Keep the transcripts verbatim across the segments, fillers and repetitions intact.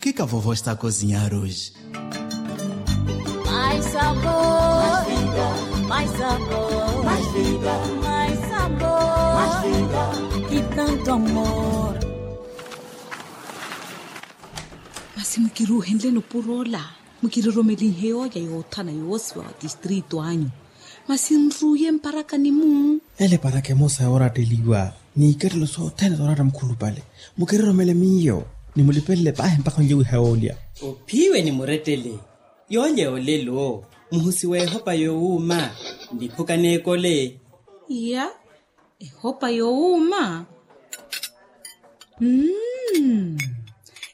Kika vovo estako zinyaruji. Mais sabor, mais vida, mais sabor, mais vida, mais sabor, mais vida, mais vida, e tanto amor. Masi mukiruhenle nupuro ola, mukiroromelinhe yooja yoothana yoosiwa wa tistrito anyu. Masi nruye mparakani-mu. Ele paraka emosa yooratteliwa n'ikattelo sothene zooratta mukhulupale. Mukiroromele miyo, ni mulipelele paahi mpakha onlye wiha yoolya. Ophiwe ni murettele. Yoolya yoolelo muhusi w'ehopa yoowuuma. Niphuka n'ekole. Iya, ehopa yoowuuma. Mmm.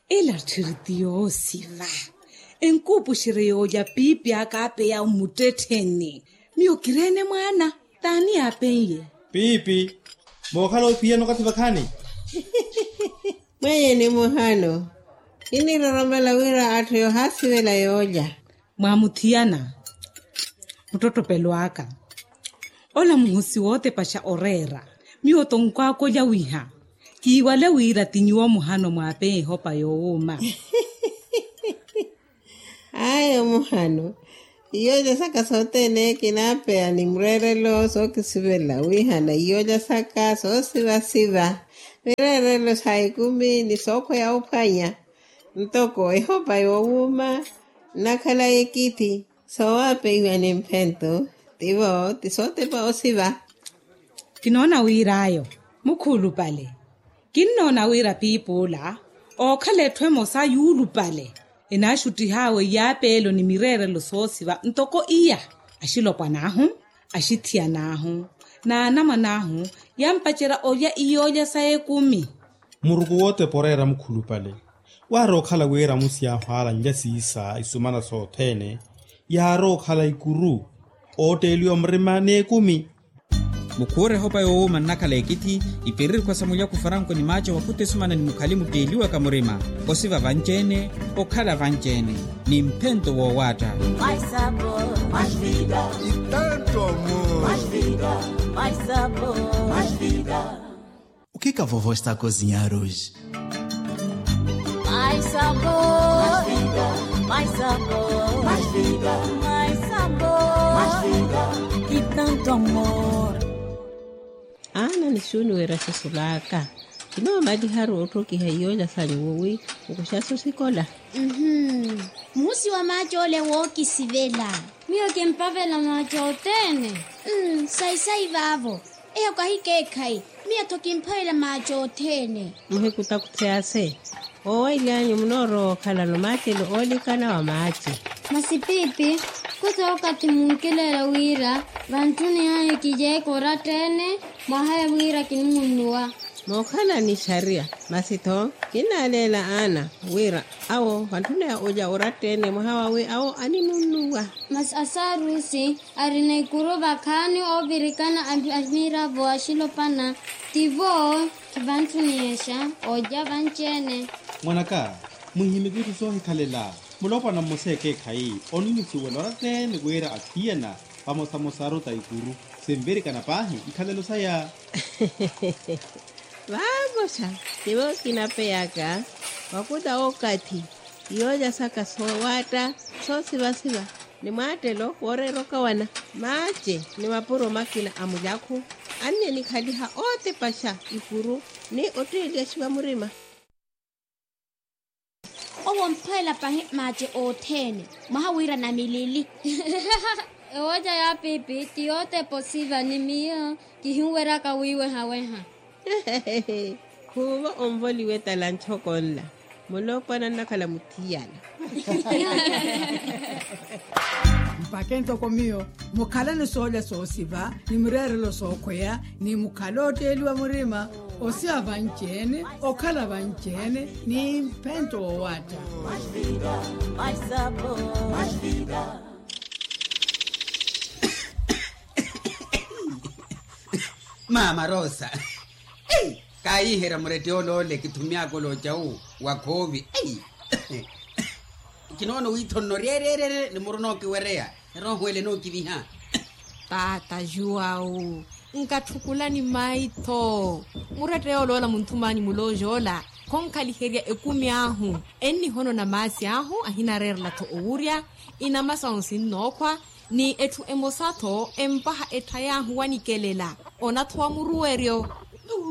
Ela tthiri ti yoosiva. Enkuupuxerye yoolya piipi aka apeya mmuttettheni. Miyo kireene mwaana. T'ani yaapen'ye? Piipi. Mookhala ophiyana okathi vakhaani. Mwenyeni muhano. Kiniroromela wira atthu yoohaasivela yoolya. Mwaamuthiyana. Muttottopelo aka. Ola muhusi wootepaxa oreera. Miyo tonkwakolya wiha. Kiiwale wira ti nyuwo muhano mwaapeya ehopa yoowuuma. Ayo muhano. Iyooja saka sothene kinaapeya ni mureerelo sookisivela wihana iyooja saka soosivasiva. Mireerelo sa ekumi ni sookhweya ophwanya. Ntoko ehopa yoowuuma nnakhala ekithi. Soowapeiwa ni mphento. Tivo ti sootepa osiva. Kinoona wir'ayo mukhuulupale. Kinnoona wira piipi ola ookhala etthu emosa yuulupale. Enaaxuttih'awe iyaapeelo ni mireerelo soosiva ntoko iya. Axilopwan'ahu, axithiyan'ahu, n'anamwan'ahu yampacerya olya iyoolya sa ekumi. Muruku wootepa oreera mukhulupale. Waari okhala wira amusi yaahu aalanlya siisa isumana sothene. Yaari okhala ikuru ootteeliwa murima n'ekumi. Mukhuure ehopa yoowuuma nnakhala ekithi. Ipererikwa sa mulyaku faranko ni maaco wakhuta esumana ni mukhali mutteeliwaka murima. Osiva vanci-ene, okhala vanci-ene ni mphento woowaatta. Ukika vovo estako zinyaruji. Mais sabor, mais vida, mais sabor, mais vida, mais sabor, mais vida, e tanto amor. Aana ni xuuni wira sisulaaka. Kinoomaliharu otthokiha iyoolya sanyu wowi nkuxaso sikola. Muhusi wa maaci ole wookisivela. Miyo kimpavela maaci othene. Sayi-sayi vaavo. Eyo kahikeekhayi. Miyo-tho kimphavela maaci othene. Muhikutakutheyase. Oowaily'anyu munoorowa okhalano maacelo oolikana wa maaci. Masi piipi, khuta okathi munkileela wira vantthuni ahi kijeeka oratta-ene. Mwahaya wira kinimunnuwa. Mookhala ni xariya. Masi-tho kinnaaleela aana wira awo vantthuni ahi oja oratta-ene mwaha wawi awo animunnuwa. Masi asaarusi arina ikuru vakhaani oovirikana a miravo axilopana. Tivo kivantthuniyexa oja vanci-ene. Mwanaka, muhimiki itthu soohikhalela. Mulopwana mmosa ekeekhayi onnusuwela oratta-ene wira athiyana vamosamosa aruta ikuru. Sinvirikana paahi ikhalelo saya. Vamosa tivo kinapeyaka wakuta okathi. Iyoolya saka soowaatta soosivasiva ni mwaattelo wooreera okawana. Maace ni mapuro makina a mulyakhu anni enikhaliha ootepaxa ikuru ni otteeliyaxiwa murima. Owo omphweela pahi maace othene mwaha wira namilili. Ewoca ya pipi ti yootepa osiva ni miyo kihinweryaka wiiwehaweha. Khuuvo onvoliwe talanchoko nla. Mulopwana nnakhala muthiyana. Mpakhe ntoko miyo mukhalani soolya soosiva ni mireerelo sookhweya ni mukhale ootteeliwa murima. Osiva vanci-ene okhala vanci-ene ni mphento woowaatta. Mama rosa. Kaayiherya murette ole ole kithumyaka ole ocawu wa khoovi. Kinoona wiithonno ryereerere ni muruna okiwereya. Erooho ele nookiviha. Taata juwawu, nkatthukulani maitho. Murette yoola ola munthumanyu mulooja ola khonkhaliherya ekumi ahu. Ennihonona maasi ahu ahinareerela-tho owurya. Inama sahu sinnookhwa ni etthu emosa-tho empaha etthay'ahu wanikelela. Onathowa muruweryo.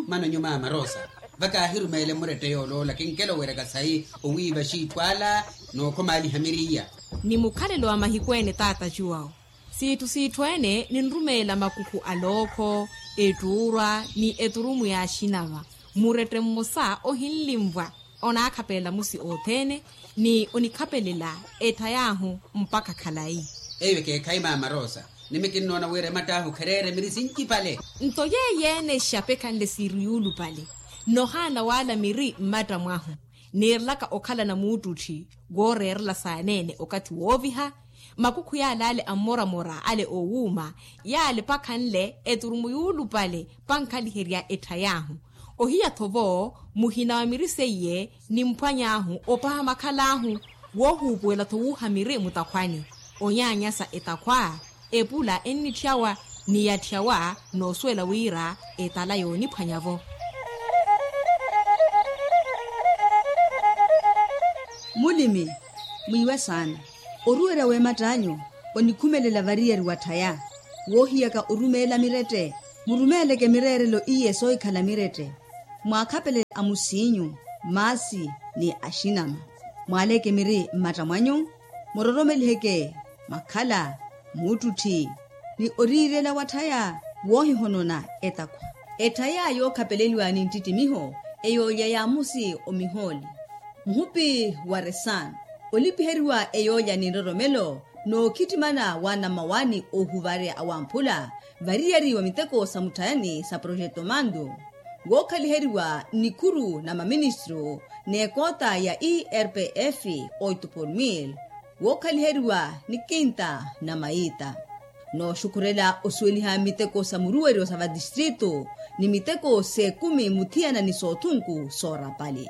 Mano nyumaama rosa, vakaahirumeele murette yooloola kinkela oweryaka sayi owiiva xiitthu ala nookhomaaliha miriya. Ni mukhalelo wa mahiku ene taata cuwawo siitthu siitthu ene ninrumeela makukhu a lookho, ettuurwa ni eturumu y'axinava. Murette mmosa ohinlinvwa onaakhapelela musi othene ni onikhapelela ettha y'ahu mpakha khalayi. Eyo ekeekhayi maama rosa, nimi kinnoona wira ematt'ahu khereere miri sinci pale. Nto yeeyo-ene exapekhanle siiri yuulupale. Nohaana wala miri mmatta mwahu niirelaka okhalana muuttutthi wooreerela saaneene okathi wooviha. Makukhu yala ale ammoramora ale oowuuma yale pakhanle eturumu yuulupale pankhaliherya ettha y'ahu. Ohiya-tho vo muhina wa miri seiye nimphwany'ahu opaha makhal'ahu. Woohuupuwela-tho wuuha miri mutakhwani onyaanyasa etakhwa. Epula ennitthyawa ni yatthyawa noosuwela wira etala yooniphwanya-vo. Mulimi mwiiwe saana. Oruwerya w'ematt'anyu onikhumelela variyari watthaya. Woohiyaka orumeela mirette murumeeleke mireerelo iye soohikhala mirette. Mwaakhapelele amusiinyu maasi ni axinama. Mwaaleke miri mmatta mwanyu muroromeliheke makhala, muuttutthi ni oriirela watthaya woohihonona etakhwa. Etthaya yookhapeleliwa ni nttittimiho eyoolya ya musi omihooli muhupi wa resano olipiheriwa eyoolya ni nroromelo nookhittimana wa namawani oohuvarya awamphula variyari wa miteko sa mutthayani sa projeto mando. Wookhaliheriwa nnikhuru na maministru n'ekoota ya irpf oito por mil. Wookhaliheriwa ni kinta na mayiita nooxukhurela osuweliha miteko sa muruweryo sa vatistritu ni miteko s'ekumi muthiyana ni soothunku soorapali.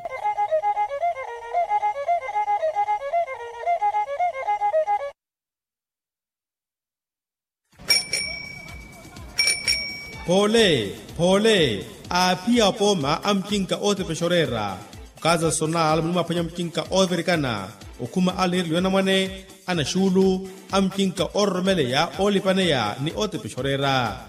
Phoole phoole aaphiya apooma a mucinka ootepexa oreera. Okaza sonal muli mwaphwanya mucinka oovirikana okhuma a liirelo y'anamwane, anaxuulu, a mucinka oororomeleya oolipaneya ni ootepexa oreera.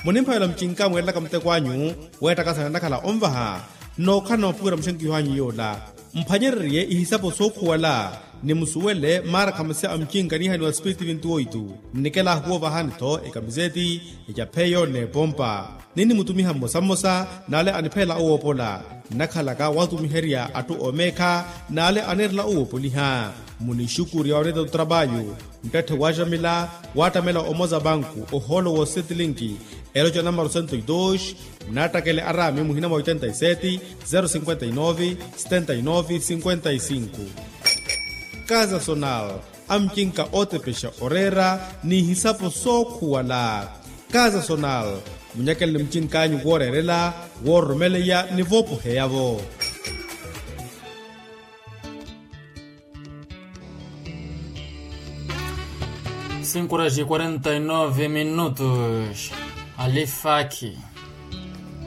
Munimphavela mucinka mweerelaka muteko anyu weettakasana enakhala onvaha. Nookhala na opuwira muxenkiho anyu yoola mphwanyererye ihisapo sookhuwala ni musuwele maarakhamase a mucinka niihaniwa spiriti vinti oitu. Nnikela ahu woovahani-tho ekamiseti, ecapheyo n'epompa. Ninnimutumiha mmosa mmosa n'ale aniphelela owoopola nnakhalaka waatumiherya atthu oomeekha n'ale aneerela owoopoliha. Munixukurya oneeta otrapaayo nttatthe waaxamila waattamela omoza banku ohoolo woosetilinki. Eloca namaro sento y dos. Nattakele araami muhina mwa oitenta y sete, zero cinquenta y nove, setenta y nove cinquenta y cinco. Kaza sonal a mucinka ootepexa oreera n'ihisapo sookhuwala. Kaza sonal munyakeleni mucinkanyu wooreerela, woororomeleya ni voopoheya-vo. Cinco horas e quarenta e nove minutos. Alifaki.